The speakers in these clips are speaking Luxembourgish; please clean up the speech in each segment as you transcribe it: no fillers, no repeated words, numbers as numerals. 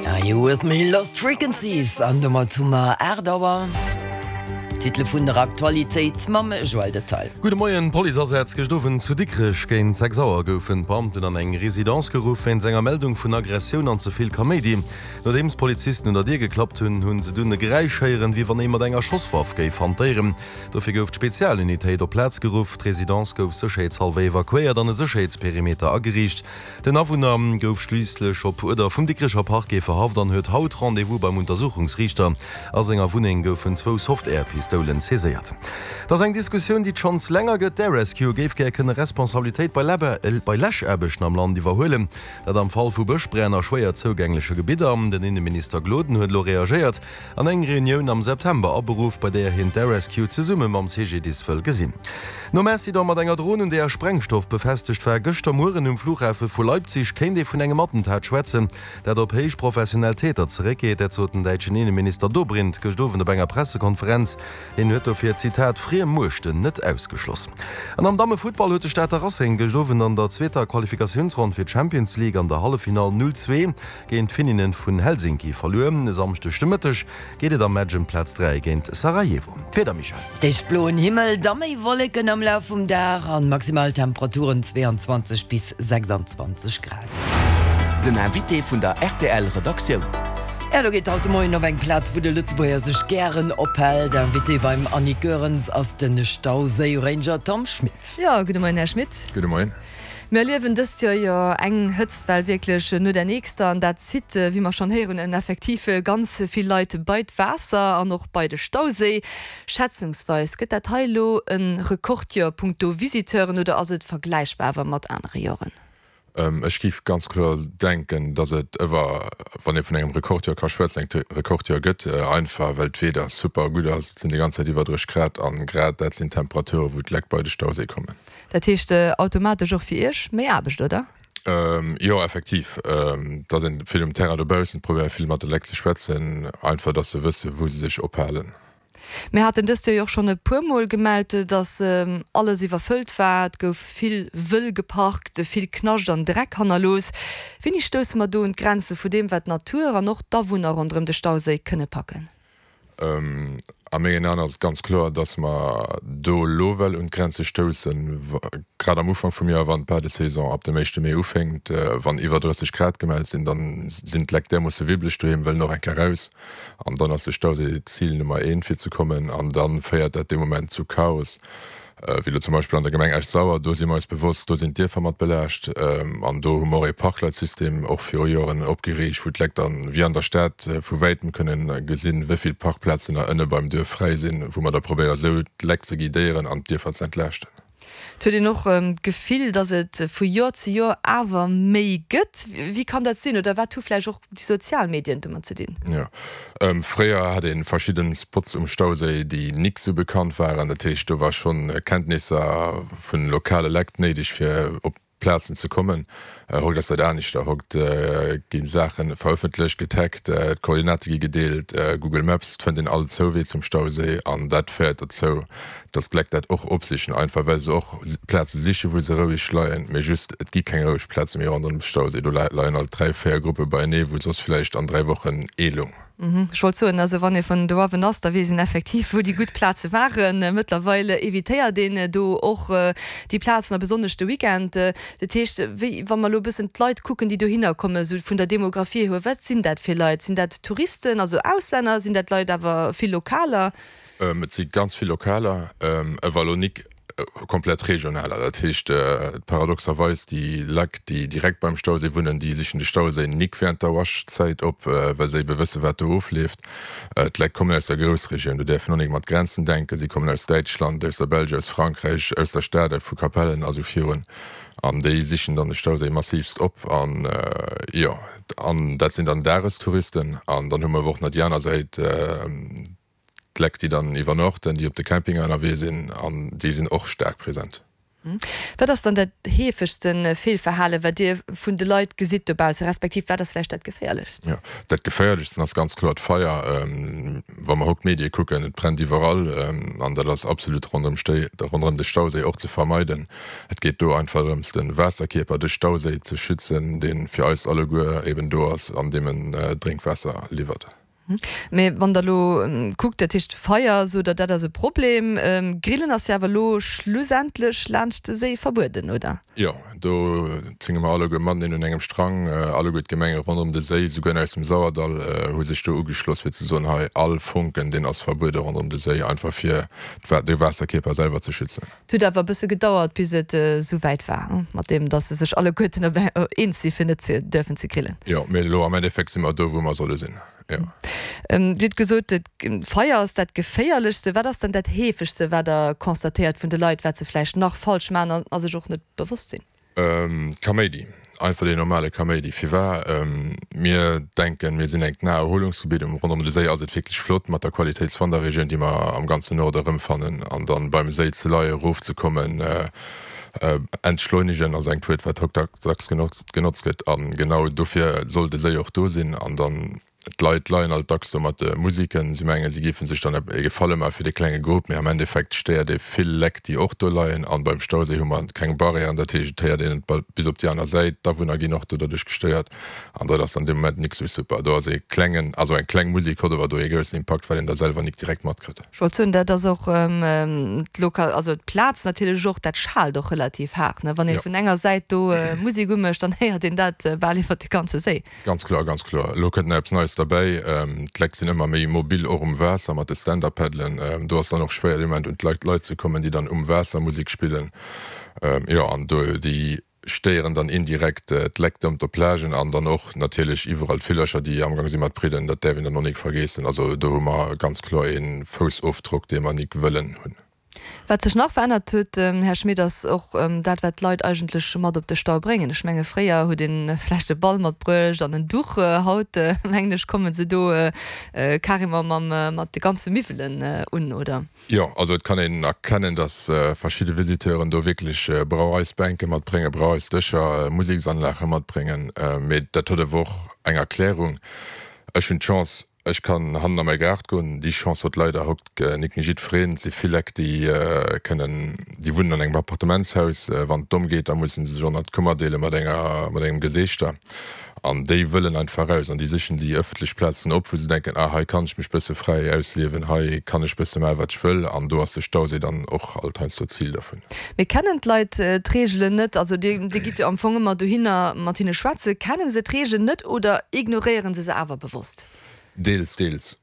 Are you with me? Lost Frequencies. An domat hu mer 8 Auer. D'Titele vun der Aktualitéit mam Joël Detail. Gudde Moien. Policeasätz gëscht Owend zu Dikrech. Géint 6 Auer goufen d'Beamten an eng Residence geruff wéinst enger Meldung vun Aggressioun an ze vill Kaméidi. Nodeems d'Polizisten un der Dier geklappt hunn, hu se dunn e Geräisch héieren, wéi wann ee mat enger Schosswaff géif hantéieren. Dofir gouf d'Spezialunitéit op d'Plaz geruff. D'Residence gouf sécherheetshallwer evakuéiert an e Sécherheetsperimeter ageriicht. Den Awunner gouf schliisslech op Uerder vum Dikrecher Parquet verhaft an huet haut Rendez-vous beim Untersuchungsriichter. A senger Wunneng goufen zwou Soft-Air-Pistoulen saiséiert. Et ass eng Diskussioun, déi et schonns länger gëtt. D'Air Rescue géif gär kënne Responsabilitéit bei Läschaarbechten am Land iwwerhuelen. Dat am Fall vu Bëschbränn a schwéier zougängleche Gebidder. Den Inneminister Gloden huet elo reagéiert an eng Reunioun am September aberuff, bei där hien d'Air Rescue zesumme mam CGDIS wëll gesinn. Nom Incident mat enger Dron, un där Sprengstoff befestegt war, gëschter Mueren um Flughafe vu Leipzig, kéint ee vun engem Attentat schwätzen, dat op héich professionell Täter zeréckgeet. Dat sot den däitschen Inneminister Dobrindt gëscht Owend op enger Pressekonferenz. Hien huet dofir, Zitat, friem Muechten net ausgeschloss. An am Dammefuttball huet de Stater Racing gëscht Owend an der zweeter Qualifikatiounsronn fir d'Champions League an der Halleffinall 0, 2 géint d'Finninnen vun Helsinki verluer. E Samschdeg de Mëtteg geet et am Match ëm Plaz 3 géint Sarajevo. D'Wieder, Michèle? D'éischt bloen Himmel, da méi Wolleken am Laf vum Dag an Maximaltemperaturen 22 bis 26 Grad. Den Invité vun der rtl Redaktioun. Jo, do geet haut de Moien op eng Plaz, wou de Lëtzebuerger sech gären ophält. Invité beim Annick Goerens ass de Stauséi-Ranger Tom Schmit. Jo, gudde Moien, Här Schmit. Gudde Moien. Mir erliewen dëst Joer jo eng Hëtztwell wierklech no där nächster an dat zitt, wéi mer schonn héieren hunn, effektiv ganz vill Leit bei d'Waasser an och bei de Stauséi. Schätzungsweis, gëtt dat hei elo e Rekordjoer punkto Visiteuren oder ass et vergläichbar awer mat anere Joren? Ech géif ganz kloer denken, datt et ëwer, wann ee vun engem Rekordjoer ka schwätzen, engt Rekordjoer gëtt, einfach well d'Weeder super gutt ass. Et sinn déi ganz Zäit iwwer 30 Grad an grad dat sinn Temperature wou d'Lekt bei de Stauséi kommen. Dat heescht automatesch och fir Iech méi Aarbecht, oder? Jo, effektiv. Datt een vill um Terrain dobaussen, probéiere vill mat de Lekt ze schwätzen, einfach datt se wësse wou se sech ophalen. Mir haten dëst Joer jo och schonn e puer Mol gemellt, dass alles iwwerfëllt war. Et gouf vill wëll geparkt, vill Knascht an Dreck hannerlooss. Wéini stousse mer do un d'Grenze vu deem, wat d'Natur an och d'Awunner ronderëm de Stauséi kënne packen? A mengen Aen ass et ganz kloer, dass mer do elo well un d'Grenze stoussen, grad am Ufank vum Joer, wann d'Badesaison ab dem éischte Mee ufénkt. Wann iwwer 30 Grad gemellt sinn, da sinn d'Lekt därmoosse wibbeleg doheem, wëllen och eng Kéier raus. An dann ass de Stauséi Zil Nummer eent fir ze kommen an da féiert dat dee Moment zu Chaos, wéi elo zum Beispill an der Gemeng Esch-Sauer. Do si mer eis bewosst, do sinn d'Dierfer mat belaascht an do hu mer och ee Parkleitsystem och viru Joren opgeriicht, wou d'Lekt dann, wéi an der Stad, vu wäitem kënnen gesinn, wéi vill Parkplazen nach ënne beim Duerf fräi sinn, wou mer da probéiere sou d'Lekt ze guidéieren an d'Dierfer ze entlaaschten. Et huet een och d'Gefill, datt et vu Joer zu Joer awer méi gëtt. Wéi kann dat sinn? Oder wat hu vläicht och déi sozial Medien domat ze dinn? Jo, fréier hat ee verschidde Spots um Stauséi, déi nik sou bekannt waren. Dat heescht, do war schonn Kenntnisser vun lokale Lekt néideg, fir op Plazen ze kommen. Haut ass dat aneschter. Haut gi Saache verëffentlecht, getaggt, d'Koordinate gi gedeelt, Google Maps, et fënnt een all Zouwee zum Stauséi an dat féiert dozou, dass d'Lekt dat och opsichen, einfach well se och Plaze sichen, wou se roueg leien. Mee just, et gi keng roueg Plaze méi ronderëm de Stauséi. Do leien alt 3, 4 Gruppe beienee, wou soss villäicht an 3 Wochen ee loung. Ech wollt soen, also wann ee vun doawen ass, da weess een effektiv, wou déi gutt Plaze waren. Mëttlerweil evitéiert een do och déi Plazen a besonnesch de Weekend. Dat heescht, wéi, wa mer elo e bëssen d'Leit kucken, déi dohinner kommen, esou vun der Demographie hier, wat sinn dat fir Leit? Sinn dat Touristen, also Auslänner? Sinn dat Leit awer vill Lokaler? Et si ganz vill Lokaler, ewer elo nik komplett regionaler. Dat heescht, paradoxerweis, déi Leit, déi direkt beim Stauséi wunnen, déi sichen de Stauséi nik während der Waschzäit op, well se ebe wësse wat do ofleeft. D'Leit kommen aus der Groussregioun, do däerf een och nik mat Grenzen denken, si kommen aus Däitschland, aus der Belge, aus Frankräich, aus der Stad, vu Capellen a sou virun. An déi sichen dann de Stauséi massivst op. An jo, an dat sinn dann Dagestouristen. An dann hu mer awer och nach déi aner Säit, D'Lekt, déi dann iwwernochten, déi op de Campinger ënnerwee sinn, an déi sinn och staark present. Wat ass dann dat heefegste Feelverhalen, wat Dir vun de Leit gesitt dobausse, respektiv wat ass vläicht dat geféierlechst? Jo, dat geféierlechsten ass ganz kloer d'Feier. Wa mer haut d'Medie kucken, et brennt iwwerall an dat ass absolut ronderëm ronderëm de Stauséi och ze vermeiden. Et geet do einfach drëms, de Waasserkierper, de Stauséi ze schützen, dee fir eis alleguer eben do ass an deem en Drénkwaasser liwwert. Mee wann Der elo kuckt, dat heescht Feier, sot Der, dat ass e Problem. Grillen ass jo awer elo schlussendlech laanscht de Séi verbueden, oder? Jo, do zénge mer alleguer mateneen un engem Strang. Alleguer d'Gemenge ronderëm de Séi, souguer aus dem Sauerdall, hu sech do ugeschloss, fir ze soen, hei all Fonken, deen ass verbuede ronderëm de Séi, einfach fir de Waasserkierper selwer ze schützen. Et huet awer e bësse gedauert, bis et esou wäit war, mat deem, datt se sech alleguerten op eens si fir net ze duerfen ze grillen. Jo, mee elo am Endeffekt si mer do, wou mer solle sinn, jo. Dir hutt gesot, d'Feier ass dat Geféierlechste. Wat ass dann dat Heefegste, wat Der constatéiert vun de Leit, wat se vläicht nach falsch maachen a sech och net bewosst sinn? Kaméidi, einfach deen normale Kaméidi. Firwar? Mir denken, mir sinn engt Naherholungsgebitt. Um ronderëm de Séi ass et wierklech flott mat der Qualitéitswanderregioun, déi mer am ganzen Norde erëmfannen. An dann beim Séi ze leien, erofzekommen, entschleunigen ass engt Wuert, wat haut dacks genotzt gëtt. A genau dofir soll de Séi och do sinn. An dann D'Leit leien alt dacks do mat de Musiken. Si mengen, si géife sech dann e Gefalle maache fir de klenge Grupp, mee am Endeffekt stéiert ee vill Leck, déi och do leien. An beim Stauséi hu mer keng Barrièren, dat heescht, et héiert een et bis op déi aner Säit. D'Awunner ginn och do derduerch gestéiert an dat ass dann dee Moment nik sou super. Do ass ee klengen, also eng kleng Musik huet awer do ee groussen Impakt, well een da selwer nik direkt matkritt. Ech wollt soen, dat ass och d'Loka, also d'Plaz natierlech och, dat schaalt och relativ haart, ne? Wann ee vun enger Säit do Musek umécht, dann héiert een dat bal iwwert de ganze Séi. Ganz kloer, ganz kloer. Elo kënnt nach eppes Neies derbäi. D'Lekt sinn ëmmer méi mobil, och um Waasser mat de Stand-Up-Paddelen. Do ass dann och schwéier dee Moment un d'Leit Leit ze kommen, déi dann um Waasser Musek spillen. Jo, an do déi stéieren dann indirekt d'Lekt ëm op Plagen an dann och natierlech iwwerall d'Villercher, déi amgang si mat bridden. Dat däerf een dann och nik vergeessen. Also do hu mer ganz kloer ee Foussofdrock, dee mer nik wëllen hunn. Wat sech nach verännert huet, Här Schmit, ass och dat, wat d'Leit eigentlech mat op de Stau bréngen. Ech menge fréier huet ee vläicht e Ball matbruecht an en Duch. Haut, mengen ech, komme se do carrément mam, mat de ganze Miwwelen un, oder? Jo, also et kann een erkennen, datt verschidde Visiteuren do wierklech Brauereisbänke matbréngen, Brauereisdëscher, Museksanlage matbréngen. Mee dat huet awer och eng Erklärung. Ech hunn d'Chance, Ech kann hannen a mäi Gaart goen. Déi Chance huet leider haut nik méi jiddwereen. Et si vill Lekt, déi kënnen, déi wunnen an engem Appartementshaus. Wann et domm geet, da musse se sech och nach d'Kummer deele mat enger, mat engem Geseechter. An déi wëllen einfach raus an déi sichen déi ëffentlech Plazen op, wou se denken, ah hei kann ech mech bësse fräi ausliewen, hei kann ech bësse maachen, wat ech wëll. An do ass de Stauséi dann och alt heiansdo d'Zil dervun. Mee kennen d'Leit d'Reegelen net? Also Dir, Dir gitt jo am Fong ëmmer dohinner mat hinne schwätzen. Kennen se d'Reegelen net oder ignoréieren se se awer bewosst? Deels, deels.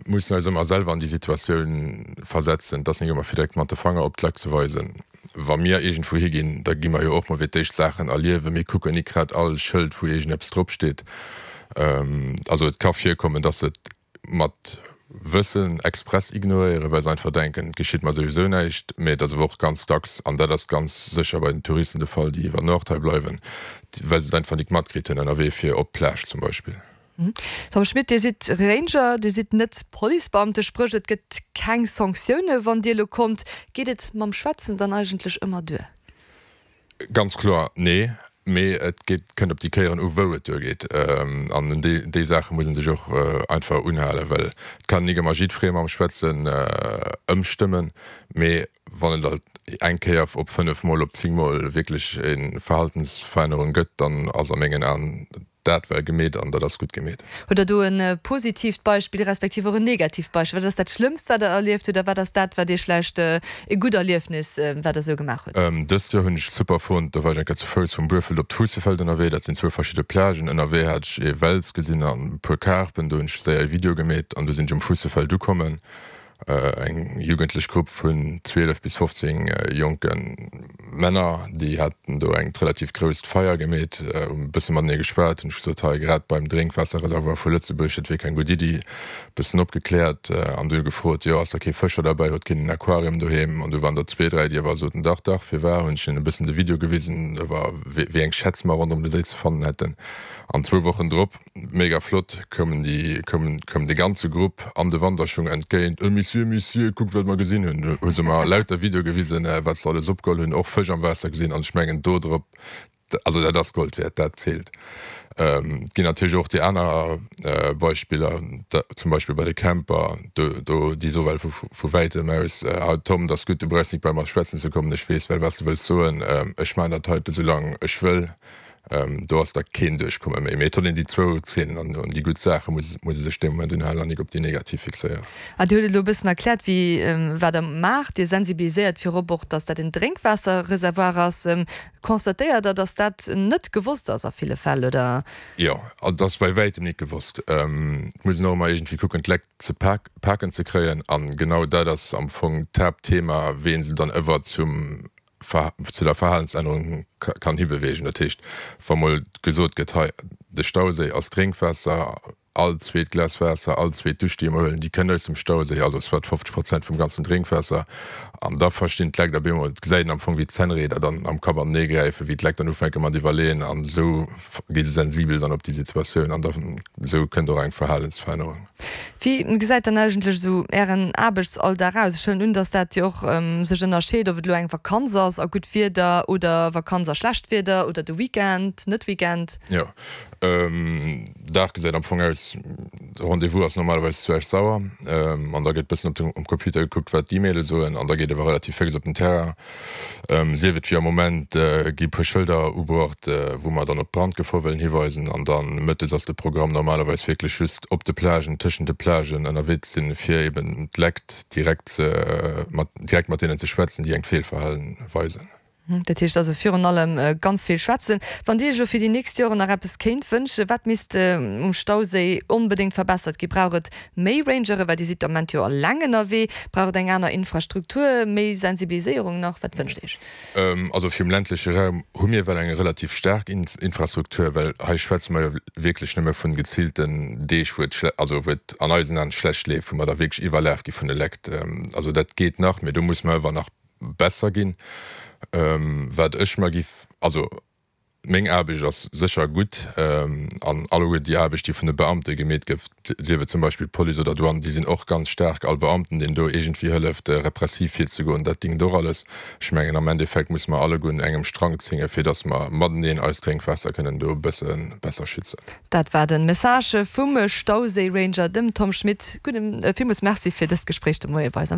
Mussen eis ëmmer selwer an déi Situatioun versetzen. Et ass nik ëmmer fir direkt mat de Fanger op d'Leit ze weisen. Wa mir iergendwou higinn, da gi mer jo och mol fir d'éischt Saachen erliewen. Mir kucken nik grad all Schëld, wou iergendeppes drop steet. Also et ka virkommen, dass se et mat Wëssen express ignoréieren, well se einfach denken, et geschitt mer souwisou näischt. Mee et ass awer och ganz dacks, an dat ass ganz sécher bei den Touristen de Fall, déi iwwer Nuacht hei bleiwen, well se et einfach nik matkritt hunn ënnerwee fir op d'Plage zum Beispill. Tom Schmit, Dir sidd Ranger, Dir sidd net Policebeamte, spréch et gëtt keng Sanktioune wann Dir elo kommt. Geet et mam Schwätzen dann eigentlech ëmmer duer? Ganz kloer nee, mee et geet, kënnt op déi Kéieren u wou et duergeet. An un déi, déi Saache muss ee sech och einfach unhalen, well et kann nik ëmmer jiddweree mam Schwätzen ëmstëmmen, mee wann et alt eng Kéier op 5 mol, op 10 mol wierklech e Verhaltensverännerung gëtt, dann ass a mengen Aen Dat war gemeet an dat ass gutt gemeet. Hutt Der do e positiivt Beispill respektiv och en negatiivt Beispill? Wat ass dat Schlëmmst, wat Der erlieft hutt a wat ass dat, wat Iech vläicht e gutt Erliefnis, wat Der esou gemaach hutt? Dëst Joer hunn ech super fonnt, do war ech eng Kéier zu Fouss vum Buerfelt op d'Fuussefeld ënnerwee. Dat sinn zwou verschidde Plagen. Ënnerwee hat ech ee Wels gesinn an e puer Karpen. Do hunn ech séier ee Video gemeet an du sinn ech um Fuussefeld ukommen. Eng jugendlech Grupp vun 12 bis 15 jonke Männer, déi haten do engt relativ grousst Feier gemeet, hu bësse matenee geschwat, hunn ech gesot, hei grad beim Drénkwaasserreservoir vu Lëtzebuerg, dat wier keng gutt Iddi, bëssen opgekläert an dunn gefrot, jo ass da kee Fëscher derbäi, huet keen en Aquarium doheem? An du waren der zwee, dräi, déi awer soten, dach, dach, firwar? Hunn ech hinnen e bëssen de Video gewisen, iwwer wéi eng Schätz mer ronderëm de Séi ze fannen hätten. An zwou Wochen drop, mega flott, koumen déi, koumen, koum de ganze Grupp an de Wanderschung entgéint, Ö Monsieur, Monsieur, kuckt wat mer gesinn hunn! Hu se mer lauter Videoe gewisen, wat se alles opgeholl hunn, och Fësch am Waasser gesinn. An ech mengen do drop, also dat ass Gold wäert, dat zielt. Et ginn natierlech och déi aner Beispiller, zum Beispill bei de Camper, do, do, déi soe well vu, vu wäitem aus, Ah Tom, 't ass gutt, du brauchs nik bei mer schwätzen ze kommen, ech weess well wat s de wëlls soen, ech maachen dat heite soulaang ech wëll. Do ass da keen Duerchkomme méi. Mee et soll een déi zwou Zeenen an déi gutt Saache muss ee sech dee Moment unhalen an nik op déi negativ fixéieren. A Dir hutt et elo e bëssen erkläert, wéi, wat Der maacht. Dir sensibiliséiert virop och, dass dat en Drénkwaasserreservoir ass. Constatéiert Der, dass dat net gewosst ass a ville Fäll, oder? Jo, et ass bei wäitem nik gewosst. Et muss een och ëmmer iergendwéi kucken, d'Lekt ze paken ze kréien. A genau dat ass am Fong d'Haaptthema, wéi ee se dann ëwer zum zu der Verhalensännerung kann hibeweegen. Dat heescht, wa mol gesot gëtt, hei de Stauséi ass Drénkwaasser, all zweet Glas Waasser, all zweet Dusch déi mer huelen, déi kënnt aus dem Stauséi, also soit 50 Prozent vum ganzen Drénkwaasser, an da verstinn d'Lekt op eemol, et gesäit een am Fong wéi d'Zännrieder dann am Kapp anenee gräifen, wéi d'Lekt dann ufänke mat iwwerleeën an esou gi se sensibel dann op déi Situatioun an da esou kënnt och eng Verhalensverännerung. Wéi gesäit dann eigentlech esou Ären Aarbechtsalldag aus? Ech huelen un, dass dat jo och sech ënnerscheet, ob et elo eng Vakanz ass a gutt Wieder oder Vakanz a schlecht Wieder oder de Weekend, net Weekend. Jo, Dag gesäit am Fong aus, de Rendez-vous ass normalerweis zu Esch-Sauer an da gëtt bëssen op dem Computer gekuckt, wat d'E-Maile soen an da geet awer relativ féx op den Terrain. Sief et wéi am Moment gi puer Schëlder ubruecht, wou mer dann op d'Brandgefor wëllen hiweisen an dann mëttes ass de Programm normalerweis wierklech just op de Plagen, tëschent de Plagen ënnerwee ze sinn, fir eben d'Lekt direkt ze mat direkt mat deenen ze schwätzen, déi engt Feelverhalen weisen. Dat heescht also virun allem ganz vill schwätzen. Wann Dir Iech elo fir déi nächst Joren nach eppes kéint wënschen, wat misst um Stauséi onbedéngt verbessert ginn? Brauch et Méi Rangere, well Dir sidd de Ament jo alleng ënnerwee. Brauch et eng aner Infrastruktur, méi Sensibiliséierung nach? Wat wënscht Iech? Also fir um ländleche Raum hu mir well eng relativ staark Infrastruktur, well hei schwätze mer jo wierklech nëmme vun geziilten Deeg, wou et, also wou et an eisen Aen schlecht leeft, wou mer da wierklech iwwerlaf gi vun de Lekt. Also dat geet nach, mee do muss mer ewer nach besser ginn. Wat ech mer giff, also Meng Aarbecht ass sécher gutt an alleguer déi Aarbecht, déi vun de Beamte gemeet gëtt, sief et zum Beispill d'Police oder Douane, déi sinn och ganz staark. All Beamten, deen do iergendwéi hëlleft, repressiv virzegoen, dat dingt och alles. Ech mengen, am Endeffekt musse mer alleguer un engem Strang zéngen, fir datt mer mateneen eist Drénkwaasser kënnen do e bësse besser schützen. Dat war de Message vum Stauséi-Ranger, dem Tom Schmit. Gudden, villmools Merci fir dëst Gespréich de Moie bei eis am.